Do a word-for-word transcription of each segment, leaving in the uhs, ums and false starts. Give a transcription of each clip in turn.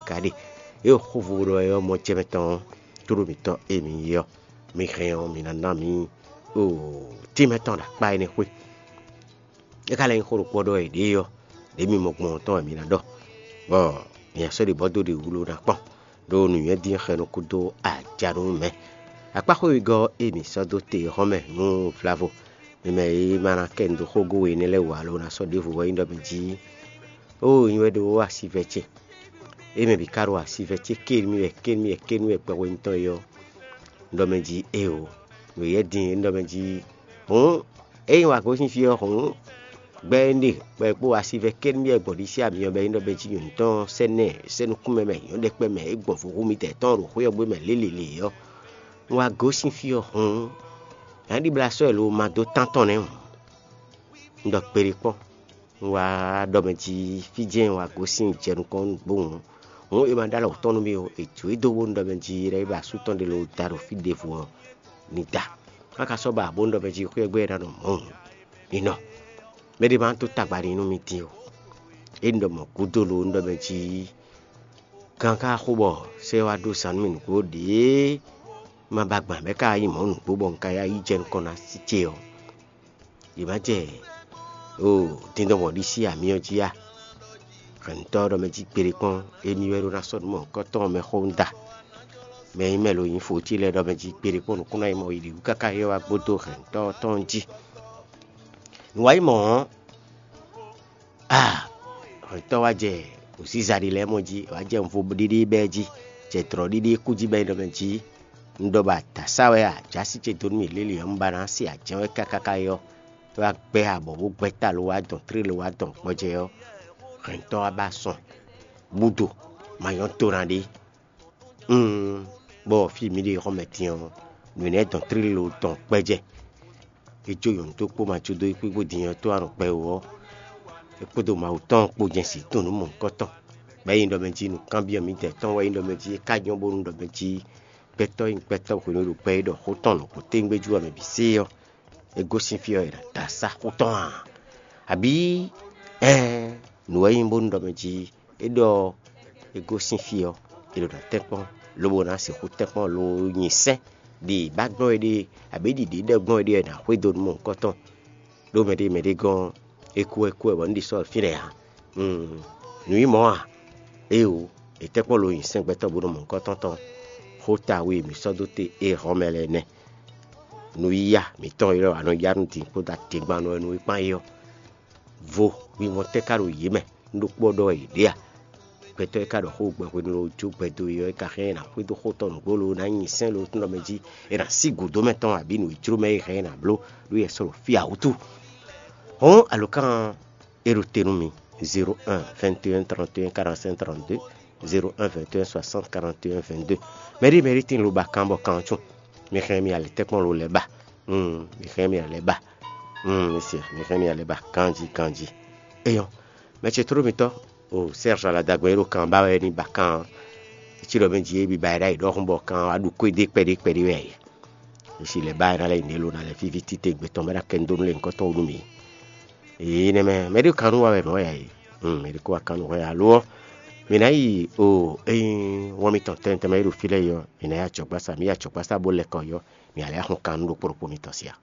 ka ɖe. É xóvo ɖɔ wɛ ɔ́, mɔ jɛmɛ tɔn ɔ́, tlóló mǐtɔn e mǐ nyí ɔ́, mi hɛn ɔ́, mi ná ná mǐ o tínmɛ tɔn ɖo akpá énɛ́ xwé. É ka lɛ́ nyí xó ɖokpó ɖɔ è ɖě ɔ́, ɖě mi mɔ gbɔn tɔn wɛ mi ná ɖɔ, bɔ mi ná sɔ́ ɖi bɔ dó ɖi wló ná kpɔ́n, ɖó nǔnywɛ́ dín xɛnu kúdó aja nú mɛ. Akpáxwé wegɔ́ e mǐ sɔ́ dó te hɔn mɛ nú vlavo, mi mɛ e ma ná kɛ nu dó xógó we énɛ́ lɛ́ɛ wú alo ná sɔ́ ɖěvo wɛ nyí ɖɔ mɛ jí, ó nyí wɛ ɖó asivɛ ce. É mɛ bǐ ka ɖo asivɛ ce ké nú mì wɛ ké nú mì wɛ ké nú mì wɛ gbɛhwenu tɔn é ɔ́, un ɖɔ mɛ jí éeǒ. Nǔ yɛ́ din é un ɖɔ mɛ jí hǔn, ényí wǎ gosín fí ɔ́ hǔn, gbɛ́ énɛ́ bɔ è kpó asivɛ ké nú mì wɛ gbɔn ɖisí amyɔ bɔ é nyí ɖɔ mɛ jí nyɔ̌nu tɔn sɛ́ nɛ́ sɛ́ nukúnmɛ mɛ nyɔ̌nu ɖɛkpɛ mɛ é gbɔn vohú mitɛ́ tɔn ɖo xwé ɔ́ gbé mɛ lélelě ɔ́, un wá gosín fí ɔ́ hǔn, nyǎɖiblá sɔ́ ɛ lo ma dó tán tɔn nɛ́ hǔn. Un ɖɔ kpeɖé kpɔ́n. Un wá ɖɔ mɛ jí fí jɛ́n un wá gosín jɛ nukɔn nú nǔgbó hǔn. Hǔn è ma ɖó alɔ tɔn nú mì ó, è jǒ e dó bónú ɖɔ mɛ jí lɛ́ é ba asú tɔn ɖé ló da ɖo fí ɖěvo ɔ́, ní da. Má ka sɔ́ ba bónú ɖɔ mɛ jí xwé ɔ́ gbé é ná nɔ mɔ̌ hǔn, ní nɔ. Mɛ ɖé ma tó tagba ní nú mì dín ó. É un ɖɔ mɔ̌ gúdo lo un ɖɔ mɛ jí gán ka xo bɔ sɛ́ wá ɖó zan nú mì nǔgbó ɖěe ma ba gbǎn bɛ́ ka nyí mɔ̌ nǔgbó bɔ un ka yá yi jɛ nukɔn ná sí ce ɔ́. Yě má jɛ o dindɔn mɔ̌ ɖi sí amyɔ jí a? Hɛ̌ntɔ́ ɖɔ mɛ jí kpeɖé kpɔ́n émí wɛ ɖó ná sɔ́ nǔ mɔ̌hunkɔtɔn mɛ xó un da. Mɛ e nyí mɛ lo nyí fǒcí lɛ́ɛ ɖɔ mɛ jí kpeɖé kpɔ́n nǔkún ná yi mɔ yi ɖě wú káká é wá gbódó hɛ̌ntɔ́ tɔn jí. Nǔ wa nyí mɔ̌ ɔ́, aa, hɛ̌ntɔ́ wá jɛ nǔsíza ɖé lɛ́ɛ mɔ jí, wá jɛ nvo ɖiɖi bɛ́ jí, jɛ dlɔ̌ ɖiɖi kú jí bɛ́ ɖɔ mɛ jí. Un ɖɔ ba dǎ sá wɛ a, jǎ sí ce dó nú mì lélǐ ɔ́, un ba ná se ajɛ́n wɛ káká é ɔ́, é wá gbɛ́ abɔ bó gbɛ́ ta lo wá dɔn tlé lo wá dɔn gbɔjɛ́ ɔ́, hɛ̌ntɔ́ wá ba sɔn búdo ma nyɔ́ to ná ɖé. Bɔ fí mǐ ɖe xɔmɛ din ɔ́, nǔ énɛ́ dɔn tlílo dɔn kpɛ́jɛ. É jó nyɔ̌nu tó kpó ma jó dó é kpíkpó din ɔ́ tó anɔ kpɛ wú ɔ́, é kpódó Mawu tɔn kpó jɛ́n sí tunwun nǔ mɔ̌hunkɔtɔn. Bɔ é nyí ɖɔ mɛ jí nǔkanbyɔ́ mǐdɛɛ tɔn wɛ é nyí ɖɔ mɛ jí é ka nyɔ́ bónú ɖɔ mɛ jí gbɛtɔ́ e nyí gbɛtɔ́ hwenu e ɖo gbɛ é ɖɔ xó tɔn nɔ kó téŋgbéjú ɔ́ mɛ bǐ sé ɔ́, é gosín fí ɔ́ è nǎ da sá xó tɔn a? Abǐ ɛɛn, nǔ wɛ nyí bónú ɖɔ mɛ jí é ɖɔ é gosín fí ɔ́, è ɖo ná tɛ́nkpɔ́n, lobo ná sixú tɛ́nkpɔ́n lo nyi sɛ́n ɖi bá gbɔn é ɖe, abǐ ɖi ɖě ɖɛ gbɔn é ɖe ɔ́, è nǎ xwedó nú mɔ̌hunkɔtɔn. Ɖó mɛɖé mɛɖé gɔ́n é kú wɛ kú wɛ bɔ un ɖi sɔ́ fínɛ́ ǎ. Nǔ nyí mɔ̌ a? Éeǒ, è tɛ́nkpɔ́n lo nyi sɛ́n gbɛtɔ́ bónú mɔ̌hunkɔtɔn tɔn. Xó ta we mǐ sɔ́ dó te é hɔn mɛ lɛ́ɛ nɛ́. Nǔ yíyá mǐtɔn e lɔ a nɔ yá nú din kpódó adegbannɔ e nú é kpán é ɔ́, vo wínwɔ́n tɛ́ ka ɖo yě mɛ? Un ɖokpó ɔ́ ɖɔ wɛ yě ɖe a? Gbɛtɔ́ e ka ɖɔ xó gbɛ hwenu e jó gbɛ dó é ɔ́, é ka hɛn ɛ ná xwedó xó tɔn nǔgbó lo ná nyi sɛ́n lo tún ɖɔ mɛ jí è nǎ sí gǔdo mɛ tɔn abǐ nǔ e jló mɛ é hɛn ɛ ná bló ɖó yɛ sɔ́ ɖo fí ǎ wútu. Hɔn alǒkan e ɖo te nú mi: zéro un vingt et un trente et un quarante-cinq trente-deux, zéro un vingt et un soixante quarante et un vingt-deux. Mɛɖé mɛɖé tín lo ba kan bɔ kan ɔ́ cún. Mi hɛn mi alɛ tɛ́nkpɔ́n lo lɛ́ ba. Mi hɛn mi alɛ ba. Mi se mi hɛn mi alɛ ba ganjí ganjí. Eyɔn, mɛ ce tló mitɔ́ o Serge Aladagbɛn e ɖo kan ba wɛ ní ba kan ɔ́. Cí ɖɔ mɛ jí é bi ba ɛ ɖ'ayǐ ɖɔhun bɔ kan wá ɖu kwédé kpɛɖé kpɛɖé wɛ ǎ. È si lɛ̌ ba ɛ ná lɛ́ nyi ɖě lo ná lɛ́ fífí títewungbe tɔn bɔ é ná kɛ nú dó nú lěhunkɔtɔn wú nú mǐ. Èyí nɛ́ mɛ mɛ ɖé kan nú wa wɛ nǔ wɛ ǎ é. Mɛ ɖé kó wá kan nú hwɛ alo ɔ́, mǐ ná yi o ényí wɔn mitɔn tɛnmɛ tɛnmɛ e ɖo fí lɛ́ɛ yi ɔ́, mǐ ná yi acɔgbásá, mǐ yi acɔgbásá bó lɛ́ kɔ yi ɔ́, mǐ ná lɛ́ axɔ́ kan nú ɖokpó ɖokpó mitɔn sí a?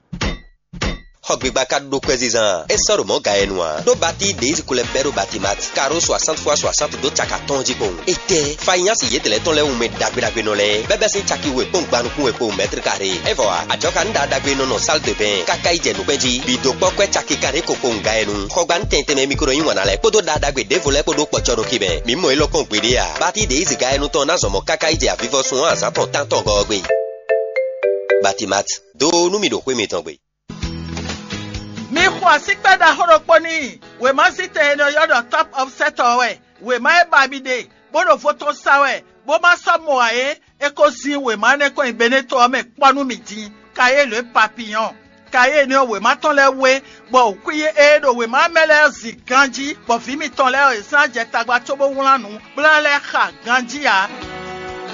Xɔ gbigba ka ɖó kwɛzizan, é sɔ́ ɖo mɔ̌ ga yɛ nu ǎ. Ɖó batí ɖě yi ko lɛ́ bɛ́ ɖó Batimat, karo soixante fois soixante dó caka tɔn jí kpowun. Étɛ́, fanyási yědɛlɛ́ tɔn lɛ́ɛ wú mɛ ɖagbe ɖagbe nɔ lɛ́ɛ, bɛ́bɛ́ sín caki we kpɔ́n gban nukún we kpowun mɛ́tri karé. É vɔ ǎ, ajɔ̌ ka nǔ ɖagbe nɔ nɔ sál de bɛ́n, káká yi jɛ nǔkpɛ́n jí, bǐ dó kpɔ́ kwɛ́ caki kanɖé ko kpowun ga yɛ nu. Xɔgbanu tɛnmɛ tɛnmɛ mi ko nɔ yí wǎn ná lɛ́ɛ kpódó ɖaɖagbe ɖěvo lɛ́ɛ kpó ɖó kpɔ́cɔ́ ɖo kí mɛ. Mǐ mɔ élɔ́ kpɔ́n gbeɖé ǎ. Batí ɖě yi zǐga yɛ nu tɔn ná zɔn mɔ káká yi jɛ avivɔsun ɔ́ azǎn tɔn tántɔn gɔ́ ɔ́ gbe. Batimat, dó nú mì ɖo xwé mitɔn gbe. Mi xo asíkpɛ́ ɖaxó ɖokpó n'i. Wěma zítɛn e nɔ ylɔ́ ɖɔ Top Offset ɔ́ wɛ. Wěma e ba mi ɖe, bó ɖo vo tɔn sa wɛ, bó ma sɔ́ mɔ ǎ é, é ko zín wěma énɛ́ kɔn nyi Beneto ɔ́ mɛ kpɔ́ nú mì din. Kayélu e papiyɔn. Kayélu ɔ́, wěma tɔn lɛ́ɛ wé, bɔ wǔkwín e ɖo wěma mɛ lɛ́ɛ zin ganjí, bɔ vǐ mitɔn lɛ́ɛ ɔ́, yě sɔ́ ná jɛ tagba cóbó wlán nǔ, bó ná lɛ́ xa ganjí ǎ.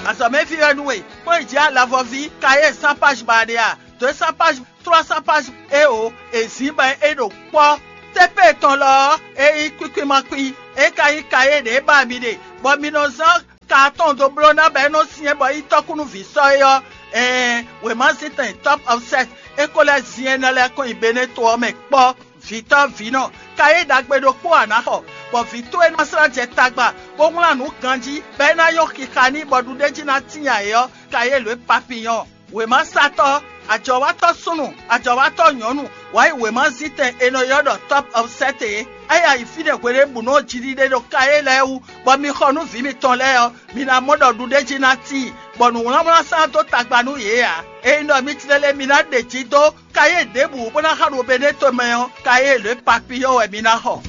Azɔ̌mɛví wɛ nú we, kpɔ́n yi jǐ alavɔví, Kayélu sín páji ba ɖe a? Dǒ e sín páji trois cents pages éeǒ, è zǐn bɔ é ɖo kpɔ́. Tépée tɔn lɔ ɔ́, é nyí kwíkwín ma kwín, é ka nyí kayé ɖě ba mi ɖe, bɔ mi nɔ zán ka atɔn dó bló ná bɔ é nɔ syɛ́n bɔ yi tɔ́kú nú vǐ sɔ́ é ɔ́, ɛɛn, wěmazíntɛn Top of Set é ko lɛ́ zin énɛ́ lɛ́ɛ kɔn nyi Beneto ɔ́ mɛ kpɔ́. Vǐtɔ́ vǐnɔ, ka yí ɖagbe ɖokpó a nǎ xɔ, bɔ vǐ towe ná slá jɛ tagba, bó wlán nǔ ganjí, bɔ é ná nyɔ́ xixa n'i bɔ ɖuɖéjí ná tíin ǎ é ɔ́, ka yí lǒ e papiyɔ́ɔn. Wěmasatɔ́, ajɔ̌watɔ́ súnnu, ajɔ̌watɔ́ nyɔ̌nu, wǎ yi wěmazíntɛn è nɔ ylɔ́ ɖɔ Top of Set é. É yi ayǐ fínɛ́ hweɖěbǔnu ɔ́ jiɖiɖe ɖo Kayé lɛ́ɛ wú, bɔ mi xɔ nú vǐ mitɔn lɛ́ɛ ɔ́, mi ná mɔ ɖɔ ɖuɖéjí ná tíin, bɔ nǔwlánwlán sán dó tagba nú yě ǎ. Ényí ɖɔ mi tlélé mi ná ɖe jǐ dó Kayé ɖěbǔ bó ná xa ɖo Beneto mɛ ɔ́, Kayé lě papiyɔ́ wɛ mi ná xɔ.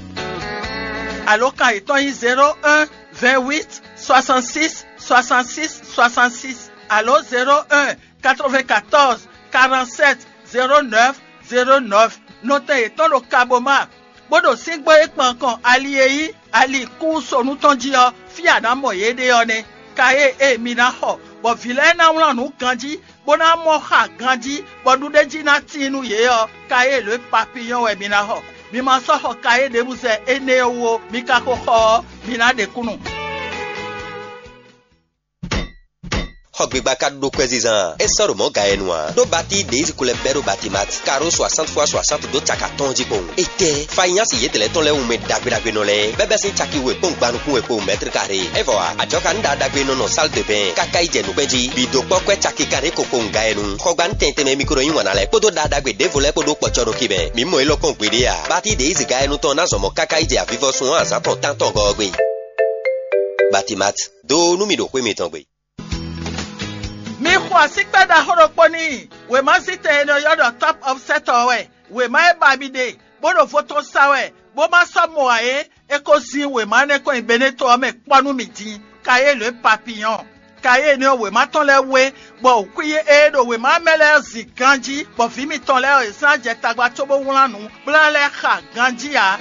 Alǒkan yětɔn nyí zéro un, vingt huit, soixante six, soixante six, soixante six, alo zéro un, quatre vingt quatorze, quarante sept, zéro neuf, zéro neuf. Nɔtɛn yětɔn ɖo Kaboma, bó ɖo síngbó e kpan kɔn ali e nyí ali kúsonu tɔn jí ɔ́, fí a nǎ mɔ yě ɖe ɔ́ nɛ́. Kayé e mi ná xɔ, bɔ vǐ lɛ́ɛ ná wlán nǔ ganjí, bó ná mɔ xa ganjí, bɔ ɖuɖéjí ná tíin nú yě ɔ́, kayé lě papiyɔ́n wɛ mi ná xɔ. Mi ma sɔ́ xɔ kayé ɖěbǔ zɛ énɛ́ ɔ́ wú ó, mi ka ko xɔ ɔ́, mi ná ɖe kúnnu. Xɔgbigba ka ɖó kwɛzizan, é sɔ́ ɖo mɔ̌ ga e nu ǎ. Ɖó Bati ɖě yi zinkú lɛ́ɛ bɛ́ ɖó Batimati, karo soixante fois soixante dó caki atɔ́ɔ́n jí kpowun. Étɛ́, Fayinyasi yětɛn lɛ́ɛ tɔn lɛ́ɛ wú mɛ ɖagbe ɖagbe nɔ lɛ́ɛ, bɛ́bɛ́ sín caki we kpɔ́n gban nukún we kpowun mɛ́tri karé. É vɔ ǎ, ajɔka nú ɖa ɖagbe nɔ nɔ sál de bɛn káká yi jɛ nǔkpɛ́n jí, bǐ dó kpɔ́ kwɛ́ caki kanɖé ko kpowun ga e nu. Xɔgban tɛnmɛ tɛnmɛ mikro nyí wǎn ná lɛ́ɛ kpódó ɖa ɖagbe ɖěvo lɛ́ɛ kpó ɖó kpɔ́cɔ́ nukí mɛ. Mǐ mɔ élɔ́ kpɔ́n gbeɖé ǎ. Bati ɖě yi zi ga e nu tɔn ná zɔn mɔ̌ káká yi jɛ avivɔsun ɔ́ azǎn tɔn tántɔn gɔ́ ɔ́ gbe. Batimat, dó nú mì ɖo xwé mitɔn gbe. Mi xo asíkpɛ́ ɖaxó ɖokpó n'i. Wěmazítɛn e nɔ ylɔ́ ɖɔ Top of Set ɔ́ wɛ. Wěma e ba mi ɖe, bó ɖo vo tɔn sa wɛ, bó ma sɔ́ mɔ ǎ é, é ko zin wěma énɛ́ kɔn nyi Beneto ɔ́ mɛ kpɔ́ nú mì din. Kayé lě papiyɔ́n. Kayé énɛ́ ɔ́, wěma tɔn lɛ́ɛ wú é, bɔ wǔkwín e ɖo wěma mɛ lɛ́ɛ zin ganjí, bɔ vǐ mitɔn lɛ́ɛ ɔ́, yě slá jɛ tagba cóbó wlán nǔ, bó ná lɛ́ xa ganjí ǎ.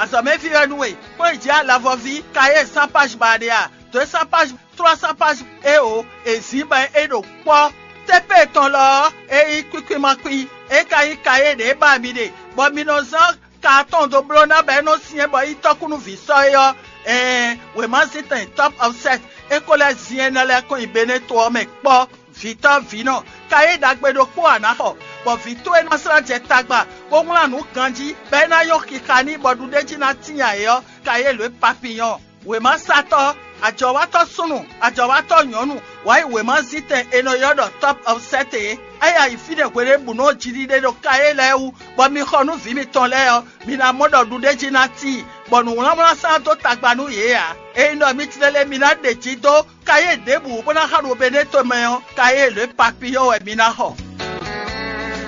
Azɔ̌mɛví wɛ nú we, kpɔ́n yi jǐ alavɔví, Kayé sán páj ba ɖe a? Dǒ e sán páj trois cents pages é o, è zǐn bɔ é ɖo kpɔ́. Tépé tɔn lɔ ɔ́, é nyí kwíkwímakwín, é ka nyí kayé ɖě ba mi ɖe, bɔ mi nɔ zán ka atɔn dó bló ná bɔ é nɔ syɛ́n bɔ yi tɔ́kúnúví sɔ́ é ɔ́, ɛɛn, wěmazíntɛn Top of Set é ko lɛ́ zin énɛ́ lɛ́ɛ kɔn nyi Beneto ɔ́ mɛ kpɔ́. Vǐtɔ́ vǐnɔ, kayé ɖagbe ɖokpó a nǎ xɔ, bɔ vǐ towe ná slá jɛ tagba, bó wlán nǔ ganjí, bɔ é ná nyɔ́ xixa n'i bɔ ɖuɖéjí ná tíin ǎ é ɔ́, kayé lě papiyɔ́n. Wěmasatɔ́, ajɔ̌watɔ́ súnnu, ajɔ̌watɔ́ nyɔ̌nu, wǎ yi wěmazítɛn è nɔ ylɔ́ ɖɔ Top of Set é. É yi ayǐ fínɛ́ hweɖěbǔnu ɔ́ jiɖiɖe ɖo Kayé lɛ́ɛ wú, bɔ mi xɔ nú vǐ mitɔn lɛ́ɛ ɔ́, mi ná mɔ ɖɔ ɖuɖéjí ná tíin, bɔ nǔwlánwlán sán dó tagba nú yě ǎ. Ényí ɖɔ mi tlélé mi ná ɖe jǐ dó Kayé ɖěbǔ bó ná xa ɖo Beneto mɛ ɔ́, Kayé lě papiyɔ́ wɛ mi ná xɔ.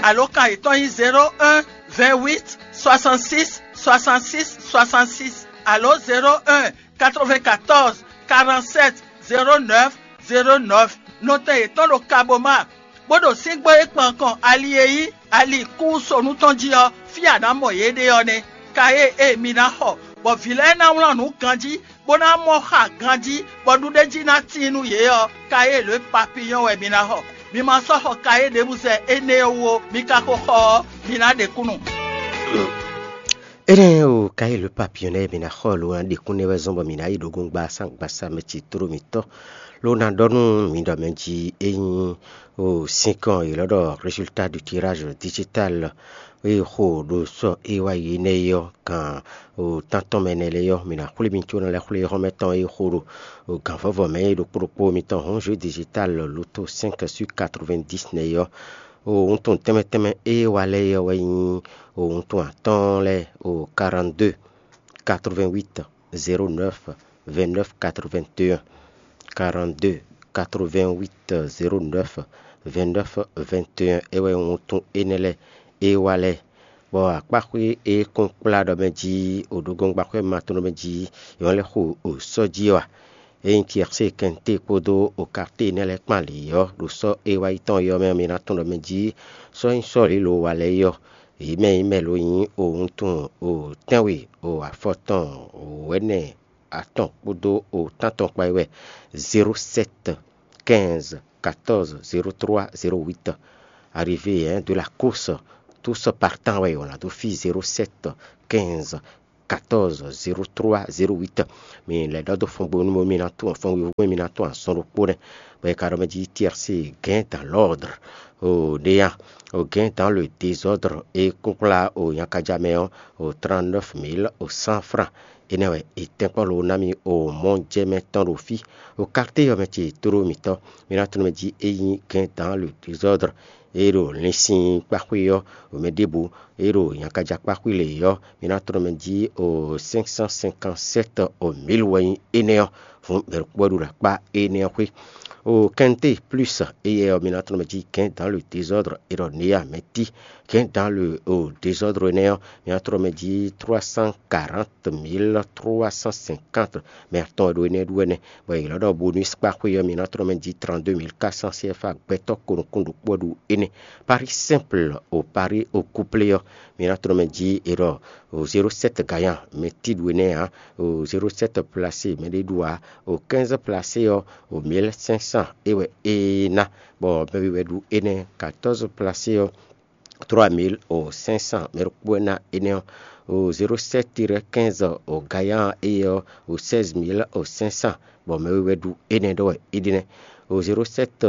Alǒkan yětɔn nyí zéro un, vingt huit, soixante six, soixante six, soixante six, alo zéro un, quatre vingt quatorze, quarante sept, zéro neuf, zéro neuf. Nɔtɛn yětɔn ɖo Kaboma, bó ɖo síngbó e kpan kɔn ali e nyí ali kúsonu tɔn jí ɔ́, fí a nǎ mɔ yě ɖe ɔ́ nɛ́. Kayé e mi ná xɔ, bɔ vǐ lɛ́ɛ ná wlán nǔ ganjí, bó ná mɔ xa ganjí, bɔ ɖuɖéjí ná tíin nú yě ɔ́, kayé lě papiyɔ́n wɛ mi ná xɔ. Mi ma sɔ́ xɔ kayé ɖěbǔ zɛ énɛ́ ɔ́ wú ó, mi ka ko xɔ ɔ́, mi ná ɖe kúnnu. Énɛ́ o, kayé lě papiyɔ́n lɛ́ɛ mi ná xɔ lǒ ná ɖe kúnnu wɛ zɔ́n bɔ mǐ ná yi ɖo gongba sán gbasa mɛ ci tló mǐtɔn, ló ná ɖɔ nú mi ɖɔ mɛ jí é nyí o sinkɔn yě lɔ ɖɔ résultat du tirage digital e xo ɖo sɔ e wá yi énɛ́ é ɔ́, gan o tántɔn mɛ nɛ lɛ́ɛ ɔ́, mǐ ná xwlé mi có ná lɛ́ xwlé xɔ́mɛ tɔn e xo ɖo o gan vɔ́vɔ mɛ é ɖokpó ɖokpó mitɔn hɔn jeu digital loto cinq sur quatre-vingt-dix nɛ é ɔ́. O wuntun tɛnmɛ tɛnmɛ e wá lɛ́ɛ é ɔ́ wɛ nyí o wuntun atɔ́ɔ́n lɛ́ɛ o quarante-deux, quatre-vingt-huit, zéro neuf, vingt-neuf, quatre-vingt-un, quarante-deux, quatre-vingt-huit, zéro neuf, vingt-neuf, vingt et un é wɛ wuntun énɛ́ lɛ́ɛ é wá lɛ́ɛ. Bɔ akpáxwé e kún kplá ɖɔ mɛ jí o ɖo gɔngbaxwé ma tɔn ɖɔ mɛ jí é wá lɛ́ xo o sɔ́ jí ɔ́ a? Ényí Tiyɛ́sée kɛnté kpódó o Karté énɛ́ lɛ́ɛ kpán lě ɔ́, ɖo sɔ́ e wá yi tɔn ɔ́ mɛ ɔ́, mi ná tunwun ɖɔ mɛ jí sɔ́ nyí sɔ́ lǐlo wa lɛ́ɛ é ɔ́, yě mɛ nyí mɛ lo nyí o wuntun o tɛ́nwe o afɔtɔn o wɛ̌nɛ atɔn kpódó o tántɔn kpá é wɛ. Zéro sept, quinze, quatorze, zéro trois, zéro huit. Arrivé, hein, de la course, tous partants wɛ on a dó fí zéro sept, quinze, quatorze zéro trois zéro huit. Mi lɛ́ ɖɔ dó fɔngbónu mi ná tún fɔngbónu mi ná tún azɔn ɖokpó nɛ́, bɔ è ka ɖɔ mɛ jí T R C gain dans l'ordre. O ɖéya, o gain dans le désordre, e kúnkplá o nyakaja mɛ ɔ́, o trente-neuf mille o cent francs. Énɛ́ wɛ è tɛ́nkpɔ́n lo ná mì o mɔjɛmɛ tɔn ɖo fí. O quartier ɔ́ mɛ ce tló mǐtɔn, mi ná tunwun mɛ jí é nyí gain dans le désordre. E ɖo linsin kpáxwé ɔ́, o mɛ ɖěbǔ, e ɖo nyakaja kpáxwé lě ɔ́, mi ná tunwun mɛ jí o cinq cent cinquante-sept o mille wɛ nyí énɛ́ ɔ́. Hǔn mɛ ɖokpó wɛ ɖo ɖo akpá énɛ́ ɔ́ xwé. O quinté plus éyɛ́ ɔ́, mi ná tunwun mɛ jí gain dans le désordre, e ɖɔ néa mɛ tí. Gain dans le o désordre énɛ́ ɔ́, mi ná tunwun mɛ jí trois cent quarante mille trois cent cinquante. Mɛ atɔn wɛ ɖo énɛ́ ɖu wɛ nɛ́, bɔ è lɔ́ ɖɔ bonus kpáxwé ɔ́, mi ná tunwun mɛ jí trente-deux mille quatre cents C F A gbɛtɔ́ ko nukún ɖokpó wɛ ɖo énɛ́. Paris simple o Paris o couplé ɔ́, mi ná tunwun mɛ jí è ɖɔ o zéro sept gagnant mɛ tí ɖu énɛ́ ǎ. O zéro sept placé mɛ ɖé ɖu ǎ. O quinze placé ɔ́, o mille cinq cents é wɛ é ná, bɔ mɛ wɛ ɖu énɛ́. Quatorze placé ɔ́, trois mille cinq cents mɛ ɖokpó wɛ ná énɛ́ ɔ́. O zéro sept tiré quinze o gagnant éyɛ́ ɔ́, o seize mille cinq cents, bɔ mɛ wɛ ɖu énɛ́ ɖɔ wɛ é ɖe nɛ́. O zéro sept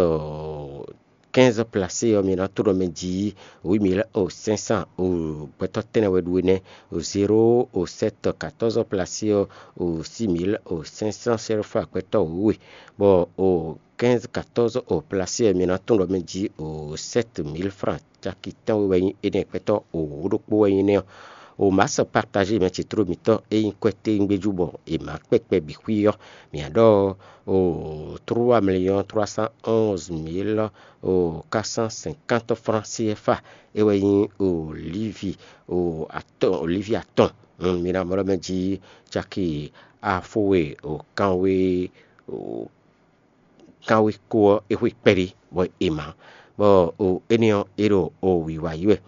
quinze placé ɔ́, mi ná tló mɛ jí huit mille cinq cents. O gbɛtɔ́ tɛ́nnɛ wɛ ɖu énɛ́. O zéro o sept quatorze placé ɔ́, o six mille cinq cents C F A gbɛtɔ́ wěwe, bɔ o quinze quatorze o placé ɔ́, mi ná tunwun ɖɔ mɛ jí o sept mille francs caki tɛ́nwe wɛ nyí énɛ́, gbɛtɔ́ o wǒ ɖokpó wɛ nyí nɛ́ ɔ́. O masse partagé mɛ ce tló mǐtɔn e nyí kwɛ́ téwúngbéjú bɔ è mǎ kpɛkpɛ bǐ xwí ɔ́, mǐ ná ɖɔ o trois millions trois cent onze mille o quatre cent cinquante francs C F A. É wɛ nyí o lívi o atɔn, o lívi atɔn. Mi ná mlɔ́ mɛ jí caki afó we o kanwe o kanwe ko ɔ́, é xwe kpɛɖé bɔ è mǎ, bɔ o énɛ́ ɔ́, é ɖo o wǐwá yi wɛ.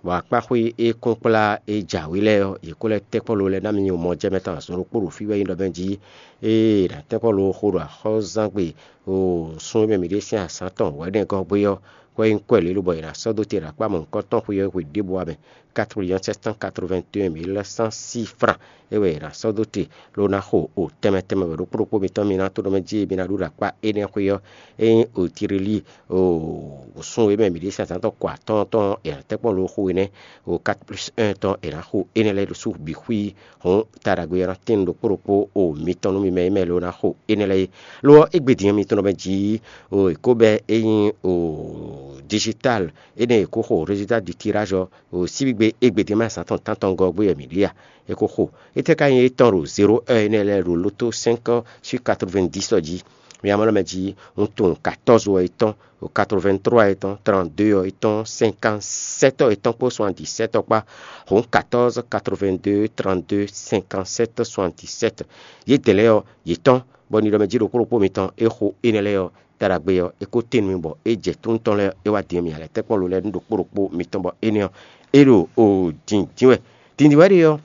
Bɔ akpáxwé e kún kplá e jǎwe lɛ́ɛ ɔ́, yě kó lɛ́ tɛ́nkpɔ́n lo lɛ́ɛ ná mi nyi mɔ jɛ mɛ tɔn azɔn ɖokpó ɖo fí wɛ nyí ɖɔ mɛ jí ée è nǎ tɛ́nkpɔ́n lo xo ɖo axɔ́zángbé o sun e mɛ mǐ ɖe sín azǎn tɔn wɛ̌nɛgɔ́ gbé ɔ́, kɔ e nyí kwɛ́ lě lobɔ è nǎ sɔ́ dó te ɖo akpá mɔ̌hunkɔtɔn xwe ɔ́ hwe ɖěbǔ ǎ mɛ. Quatre millions sept cent quatre-vingt-un mille cent six francs é wɛ è nǎ sɔ́ dó te, ló ná xo o tɛnmɛ tɛnmɛ wɛ ɖokpó ɖokpó mitɔn mi ná to nɔ mɛ jí mi ná ɖu ɖo akpá énɛ́ xwé ɔ́. Ényí o Tirelí o sun e mɛ mǐ ɖe sín azǎn tɔn kɔ atɔ́ɔ́n tɔn ɔ́, è nǎ tɛ́ kpɔ́n lo xo énɛ́, o quatre plus un tɔn è nǎ xo énɛ́ lɛ́ɛ ɖo sú bǐ xwí. Hǔn ta ɖagbe ɔ́ ná tín ɖokpó ɖokpó o mitɔn nú mi mɛ e mɛ lo ná xo énɛ́ lɛ́ɛ é. Lo ɔ́, égbé din ɔ́, mi tunɔ mɛ jí o è kó bɛ́ ényí o digital énɛ́ è kó xo résultat du tirage ɔ́, o síbígbe égbé din mɛ azǎn tɔn tántɔngɔ́ gbé wɛ mǐ ɖe a? È ko xo. Étɛ́ ka nyí étɔn ɖo zéro un énɛ́ lɛ́ɛ ɖo lótó cinq sur quatre-vingt-dix ɔ́ jí? Mi amɔ̌ mɛ jí un tunwun quatorze ɔ́ é tɔn, o quatre-vingt-trois é tɔn, trente-deux ɔ́ é tɔn, cinquante-sept ɔ́ é tɔn kpó soixante-dix-sept ɔ́ kpá. Hǔn quatorze quatre-vingt-deux trente-deux cinquante-sept soixante-dix-sept. Yědɛɛ lɛ́ɛ ɔ́, yě tɔn, bɔ nidɔmɛ jí ɖokpó ɖokpó mitɔn é xo énɛ́ lɛ́ɛ ɔ́, ta ɖagbe ɔ́, é kó tín nú mì bɔ é jɛ tónú tɔn lɛ́ɛ é wá din mì alɛ tɛ́nkpɔ́n lo lɛ́ɛ nú ɖokpó ɖokpó mitɔn bɔ énɛ́ ɔ́, é ɖo o dǐndín wɛ. Dǐndín wɛ ɖe ɔ́,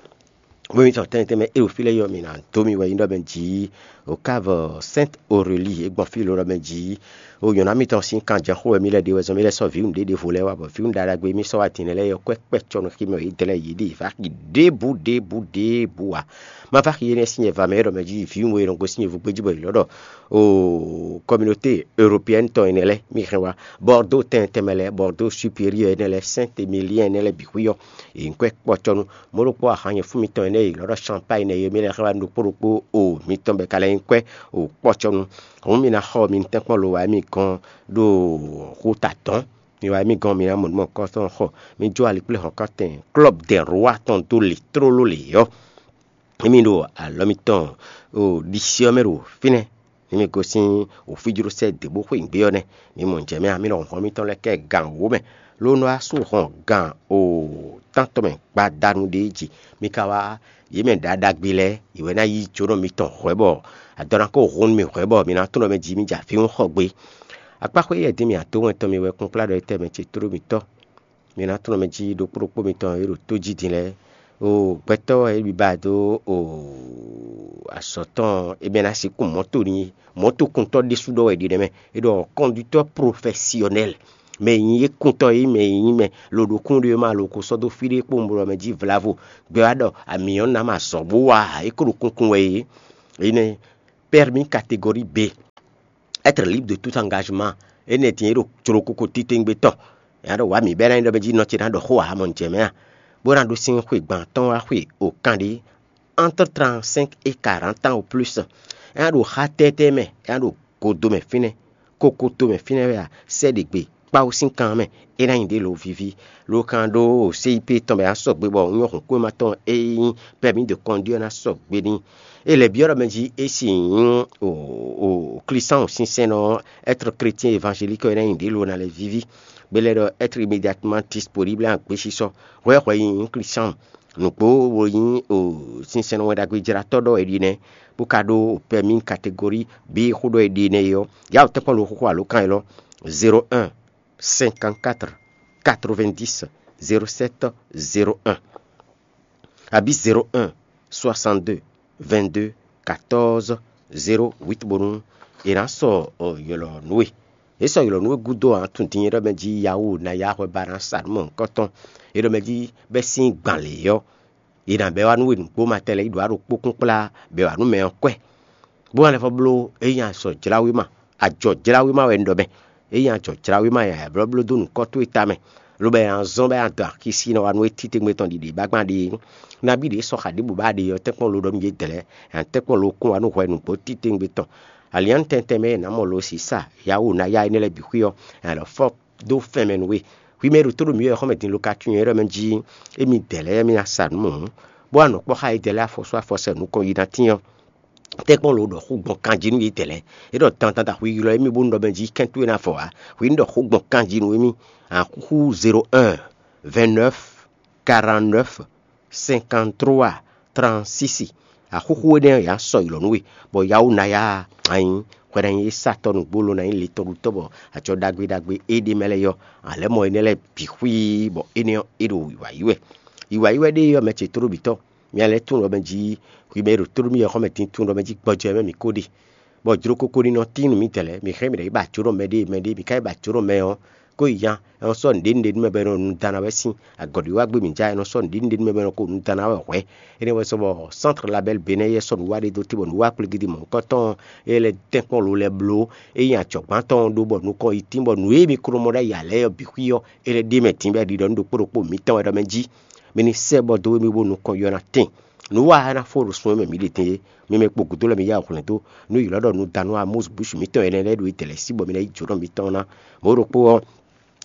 bó mi tɔn tɛnmɛ tɛnmɛ é ɖo fí lɛ́ɛ yɔ mì ná dó mi wɛ nyí ɖɔ mɛ jí o Cave Sainte Aurélie é gbɔn fí lo ɖɔ mɛ jí o nyɔ̌ná mitɔn sín kanjɛxó wɛ mì lɛ́ ɖe wɛ zɔn mì lɛ́ sɔ́ vǐwun ɖé ɖěvo lɛ́ɛ wá bɔ vǐwun ɖaɖagbe mì sɔ́ wá din lɛ́ɛ yɔ kwɛ́ kpɛ́ cɔnu xí mɛ yě dɛ lɛ́ɛ yě ɖe vǎ xi ɖěbǔ ɖěbǔ ɖěbǔ ǎ. Ma vǎ xi énɛ́ sín nyɛ va mɛ é ɖɔ mɛ jí vǐwun e nɔ gosín nyɛ vú gbé jí bɔ yě lɔ ɖɔ o communauté européenne tɔn énɛ́ lɛ́ɛ mì hɛn wá. Bordeaux tɛn tɛnmɛ lɛ́ɛ, Bordeaux supérieur énɛ́ lɛ́ɛ, Saint-Émilion énɛ́ lɛ́ɛ bǐ xwí ɔ́, è nyǐ kwɛ́ kpɔ́ cɔ́ nú. Mɔ̌ ɖokpó ahan nyɛ fún mitɔn énɛ́ è lɔ ɖɔ Champagne nɛ́ é mì lɛ́ hɛn wá nú ɖokpó ɖokpó o mitɔn bɔ è ka lɛ́ nyí kwɛ́ o kpɔ́ cɔ́ nú. Hǔn mi ná xɔ mi tɛ́nkpɔ́n lo wá mì gɔ́n ɖo xú ta dɔ̌n. Mi wá mì gɔ́n mi ná mɔ nǔ mɔ̌hunkɔtɔn xɔ. Mi jó alikpléhɔ̌nkantɛn Club des Rois tɔn dó lě tlóló lě ɔ́. Emi ɖo alɔ mitɔn o ɖisí ɔ́ mɛ ɖo fínɛ́. Emi gosín wǒfíjlósɛ dě bó xweyǐgbe ɔ́ nɛ́. Mi mɔ jɛ̌ mɛ ǎ, mi nɔ hɔn mitɔn lɛ́ɛ kɛ gan wǒ mɛ, ló nɔ wá sú hɔn gan o tántɔn mɛ gbadanu ɖé jí. Mi ka wá yě mɛ ɖaɖagbe lɛ́ɛ, yě wɛ ná yí jónɔ mitɔn hwɛ̌ bɔ adɔ ná kó hun nú mi hwɛ̌ bɔ mi ná tunɔ mɛ jí mi jɛ avǐhún xɔ gbé. Akpáxwé yɛ dín mì adó wɛn tɔn mi wɛ kpɔ́nkplá ɖɔ étɛ́ mɛ ce tló mitɔ́. Mi ná tunɔ mɛ jí ɖokpó ɖokpó mitɔn e ɖo tó jí din lɛ́ɛ. O gbɛtɔ́ e biba dó o azɔ̌ tɔn e mɛ ná sixú mɔ̌to n'i, mɔ̌tokuntɔ́ ɖésú ɖɔ wɛ è ɖe nɛ́ mɛ. È ɖɔ conducteur professionnel. mɛ e nyí ékúntɔ́ e nyí mɛ e nyí mɛ loɖokún ɖé ɔ́ ma lo ko sɔ́ dó fí ɖé kpó un blɔ mɛ jí vlavo. Gbɛ wá ɖɔ amǐ ɔ́ ná ma zɔ̌ bó wá ǎ, é ko ɖo kunkun wɛ é. Énɛ́ permis catégorie B, être libre de tout engagement. Énɛ́ din é ɖo jlokoko titewungbe tɔn. Nya ɖo wǎ mǐ bɛ́ ná nyí ɖɔ mɛ jí nɔ ce ná ɖɔ xó ǎ, mɔ jɛ mɛ a, bó ná ɖó sín xwe gban tɔn wá xwe o kan ɖé entre trente-cinq et quarante ans au plus. É ná ɖo xá tɛ́tɛ́ mɛ, é ná ɖo godo mɛ fínɛ́, kokoto mɛ fínɛ́ wɛ a, sɛ́ ɖě gbe kpáwú sín kan mɛ, é ná nyi ɖě lo víví. Lo kan ɖó C I P tɔn bɛ ná sɔgbe bɔ nyɔ́ hǔn kúwéma tɔn e nyí permis de conduire ná sɔgbe n'i. É lɛ̌ byɔ́ ɖɔ mɛ jí é si nyí o o Klísáun sínsɛ́nnɔ, être chrétien évangélique ɔ́ é ná nyi ɖě lo ná lɛ́ víví. Bɛ lɛ́ ɖɔ être immédiatement disponible à gbésisɔ, hwɛhwɛ nyi nyí Klísáun. Nǔgbó wo nyí o sinsɛn wɛn ɖagbe jlátɔ́ ɖɔ è ɖi nɛ́, bó ka ɖó o permis catégorie B xó ɖɔ è ɖi nɛ́ é ɔ́, yá wǒ tɛ́nkpɔ́n lo xóxó alǒkan élɔ́: zéro un, cinquante-quatre, quatre-vingt-dix, zéro sept, zéro un, abǐ zéro un, soixante-deux, vingt-deux, quatorze, zéro huit bónú è nǎ sɔ ylɔ̌ nú we. È sɔ ylɔ̌ nú we gúdo ǎ, tunwun din é ɖɔ mɛ jí yawú ná yá hwɛ ba ná sa nǔ mɔ̌hunkɔtɔn. É ɖɔ mɛ jí bɛ́ sín gban lě ɔ́, è nǎ bɛ́ wá nú we nǔgbó ma tɛn lɛ́ɛ yi ɖǒ wá ɖo kpókún kplá bɛ́ wá nú mɛ ɔ́ kwɛ́. Bó wá lɛ́ fɔ bló é nyí azɔ̌ jlá wé ma, ajɔ̌ jlá wé ma wɛ un ɖɔ mɛ. É nyí ajɔ̌ jlá wé ma yɛ blɔ́bló dó nǔkɔ towe tamɛ, lobo è nǎ zɔ́n bɔ é ná dɔn axisí nɔ wá nú we titewungbe tɔn ɖiɖe bágbán ɖe é. Nabí ɖě sɔ́ xa ɖěbǔ ba ɖe ɔ́, tɛ́nkpɔ́n lo ɖɔ mì yě dlɛ̌, tɛ́nkpɔ́n lo kún wá nú hwɛ nǔgbó titewungbe tɔn. Alián tɛntɛn mɛ e è nǎ mɔ lo sisa yawó ná yá énɛ́ lɛ́ɛ bǐ xwí ɔ́, è nǎ lɔ fɔ dó fɛn mɛ nú we. Hwi mɛ e ɖo tó ɖo mǐ wɛ xɔ́mɛ din lo ka tunwun é ɖɔ mɛ jí émí dɛ̌ lɛ́ɛ mí ná sa nǔ mɔ̌, bó wá nɔ kpɔ́ xá yědɛɛ lɛ́ɛ afɔsú afɔsɛ nukɔn yi ná tín ɔ́, tɛ́nkpɔ́n lo ɖɔ xó gbɔn kanjí nú yědɛɛ lɛ́ɛ. É ɖɔ dandan da hwi ylɔ́ émí bónú ɖɔ mɛ jí kɛ́n towe ná vɔ ǎ. Hwi ní ɖɔ xó gbɔn kanjí nú émí. Axúxú zéro un, vingt-neuf, quarante-neuf, cinquante-trois, trente-six. Axúxú énɛ́ ɔ́, yě ná sɔ ylɔ̌ nú we, bɔ yawó ná yá anyi hwɛ ná nyí satɔ́ nǔgbó lo ná nyí litɔnɖutɔ́, bɔ acɔ ɖagbe ɖagbe e ɖ'é mɛ lɛ́ɛ ɔ́, a lɛ̌ mɔ énɛ́ lɛ́ɛ bǐ xwíí, bɔ énɛ́ ɔ́, é ɖo wǐwá yí wɛ. Wǐwá yí wɛ ɖe ɔ́, mɛ ce tóɖó bǐ tɔn. Mi lɛ́ tunwun ɖɔ mɛ jí hwi mɛ e ɖo tóɖó mì wɛ xɔ́ mɛ din tunwun ɖɔ mɛ jí gbɔjɔ wɛ mɛ mǐ ko ɖe, bɔ jlokoko ní nɔ tín nú mǐdɛɛ lɛ́ɛ. Mǐ hɛn mǐ ɖɔ yi ba jǒ ɖɔ mɛ ɖé, mɛ ɖé mǐ ka yi ba jǒ ɖɔ mɛ ɔ́, kó yi nya, é nɔ sɔ́ nǔɖé nǔɖé nú mɛ bɔ è nɔ nu dan ná wɛ sín. Agɔ̌ɖiwágbe mǐ ja, è nɔ sɔ́ nǔɖé nǔɖé nú mɛ bɔ è nɔ ko nu dan ná wɛ hwɛ̌. Énɛ́ wɛ sɔ́ bɔ Centre Label Bénin yɛ sɔ́ nǔ wa ɖé dó te bɔ nǔ wa kplégídí mɔ̌hunkɔtɔn e lɛ́ tɛ́nkpɔ́n lo lɛ́ bló, é nyí ajɔ̌gbán tɔn ɖó bɔ nukɔn yi tín bɔ nǔ e mi ko nɔ mɔ ɖ'ayǐ ǎ lɛ́ɛ ɔ́ bǐ xwí ɔ́, é lɛ́ ɖ'é mɛ din bɔ é ɖiɖɔ nú ɖokpó ɖokpó mǐtɔn wɛ ɖɔ mɛ jí. Mi ní sɛ́ bɔ dó we mì bó nukɔn yɔ ná tɛn. Nǔ wa ná fó ɖo sun e mɛ mǐ ɖe din é. Mi mɛ kpo gǔdo lɛ́ɛ mi yá wǔ hwlɛ́n dó nú ylɔ́ ɖɔ nǔdanu Amɔ́si Busu mǐtɔn énɛ́ lɛ́ɛ ɖo yi dɛ̌ lɛ́ɛ sí bɔ mi ná yí jǒnɔ mitɔn ná. Mɔ̌ ɖokpó ɔ́,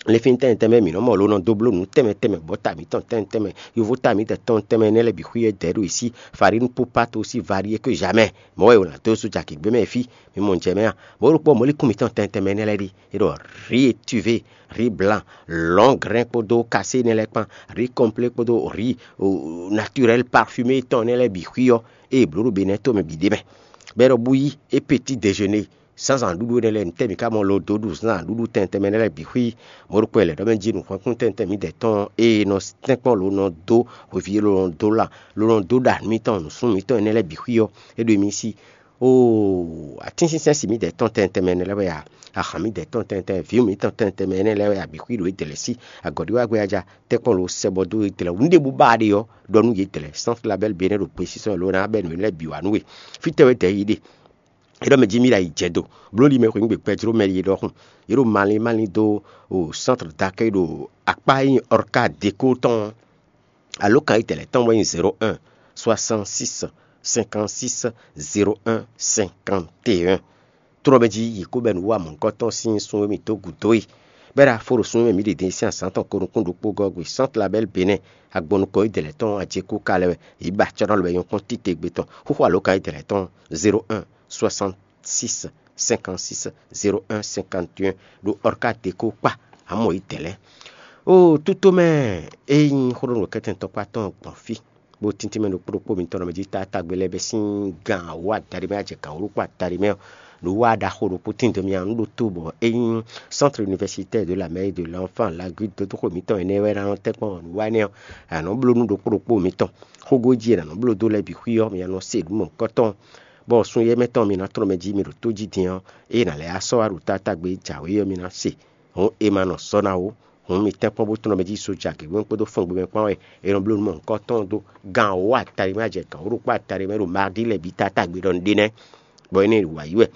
le fínitɛn tɛnmɛ mǐ nɔ mɔ lo nɔ dó bló nǔ tɛnmɛ tɛnmɛ bɔ ta mǐtɔn tɛnmɛ tɛnmɛ, yovo ta mǐtɛn tɔn tɛnmɛ énɛ́ lɛ́ɛ bǐ xwí é dɛ̌ ɖo yi sí. Farine pour pas aussi varier que jamais. Mɔ̌ wɛ è wǒ ná dó sú jaki gbé mɛ fí. Mi mɔ jɛ mɛ a? Mɔ̌ ɖokpó mɔ̌likún mǐtɔn tɛnmɛ tɛnmɛ énɛ́ lɛ́ɛ ɖi. É ɖɔ riz étuvé, riz blanc, long grain kpódó kasé énɛ́ lɛ́ɛ kpán, riz complet kpódó riz naturel parfumé tɔn énɛ́ lɛ́ɛ bǐ xwí ɔ́, ée è blǒ ɖo Benɛ́ to mɛ bǐ ɖ'é mɛ. Bɔ é ɖɔ bú yí é petit déjeuner, zǎnzǎnɖuɖu énɛ́ lɛ́ɛ, nǔtɛ́ mǐ ka mɔ lo dó ɖu zǎnzǎnɖuɖu tɛnmɛ tɛnmɛ énɛ́ lɛ́ɛ bǐ xwí? Mɔ̌ ɖokpó e lɛ̌ ɖɔ mɛ jí nǔhwɛ́nkún tɛnmɛ tɛnmɛ mǐdɛɛ tɔn e nɔ tɛ́nkpɔ́n lo nɔ dó hweví e lo nɔ dó la lo nɔ dó ɖa nǔ mitɔn nǔsúnnú mitɔn énɛ́ lɛ́ɛ bǐ xwí ɔ́, é ɖo émí sí. Oo, atínsínsɛ́n si mǐdɛɛ tɔn tɛnmɛ tɛnmɛ énɛ́ lɛ́ɛ wɛ a? Ahǎn mǐdɛɛ tɔn tɛnmɛ tɛnmɛ, vǐ mǐtɔn tɛnmɛ tɛnmɛ énɛ́ lɛ́ɛ wɛ a bǐ xwí ɖo édɛ̌ lɛ́ɛ sí? Agɔ̌ɖiwágbɛ́ aja, tɛ́nkpɔ́n lo sɛ bɔ dó édɛ̌ lɛ́ɛ. Nǔɖé bú ba ɖe ɔ́, ɖɔ nú yě dɛ̌ lɛ́ɛ. Centre Label Bénin ɖo gbesisɔ lo ná bɛ́ nǔ lɛ́ɛ bǐ wá nú we. Fítɛ́ wɛ dɛ̌ yi ɖe? É ɖɔ mɛ jí mì ɖo ayǐ jɛ do. Bló li mɛ xweyǐngbe gbɛjló mɛ li ɖɔhun. Yě ɖo malín malín dó o centre d'accueil ɖo akpá e nyí Orca Déco tɔn ɔ́. Alǒkan yi tɛlɛ tɔn wɛ nyí zéro un, soixante-six, cinquante-six, zéro un, cinquante et un. Trɔ́ mɛ jí yě kó bɛ́ nǔ wa mɔ̌hunkɔtɔn sín sun e mì dó gǔdo é. Bɛ́ ɖo afo ɖo sun e mɛ mǐ ɖe din sín azǎn tɔn ko nukún ɖokpó gɔ́ gbe Centre Label Bénin, agbɔnukɔ yi dɛlɛ tɔn ajekú ka lɛ wɛ. Yě ba acɔ́ ná lɔ bɛ nyɔ́ kpɔ́n titewungbe tɔn. Xóxó alǒkan yi tɛlɛ tɔn zéro un, soixante-six, cinquante-six, zéro un, cinquante et un ɖo Orca Déco kpá. Amɔ yi dɛlɛ. O tútó mɛ, é nyí xó ɖo nǔkɛntɛn tɔkpá tɔn gbɔn fí. Bó tíntín mɛ ɖokpó ɖokpó mǐtɔn nɔ mɛ jí taatagbe lɛ́ɛ bɛ́ sín gan awǒ adaɖé mɛ, ajɛ gan wǒ ɖokpó adaɖé mɛ ɔ́, nǔ wa ɖaxó ɖokpó tín dó mì a nǔ ɖo tó bɔ é nyí Centre Universitaire de la Mère et de l'Enfant, Laguiole, dódóxó mǐtɔn énɛ́ wɛ ná nɔ tɛ́nkpɔ́n nǔ wa énɛ́ ɔ́, a nǎ nɔ bló nú ɖokpó ɖokpó mǐtɔn. Xógó jí e nǎ nɔ bló dó lɛ́ɛ bǐ xwí ɔ́, mi ná nɔ se nǔ mɔ̌hunkɔtɔn, bɔ sun éyɛ́ mɛ tɔn mi ná tlɔ́n mɛ jí mi ɖo tó jí din ɔ́, ée nǎ lɛ́ wá sɔ́ wá ɖo taatagbe e jǎwe ɔ́, mi ná se. Hǔn è ma nɔ sɔ́ ná ó. Hǔn mi tɛ́nkpɔ́n bó tlɔ́n mɛ jí soja gěgé kpódó fɔn gbe mɛ kpán wɛ è nɔ bló nǔ mɔ̌hunkɔtɔn dó gan wǒ atali mɛ ajɛ gan wǒ ɖokpó atali mɛ ɖo mardí lɛ́ɛ bǐ tátágbe ɖɔ nɖé nɛ́, bɔ é nɛ́ wa yí wɛ.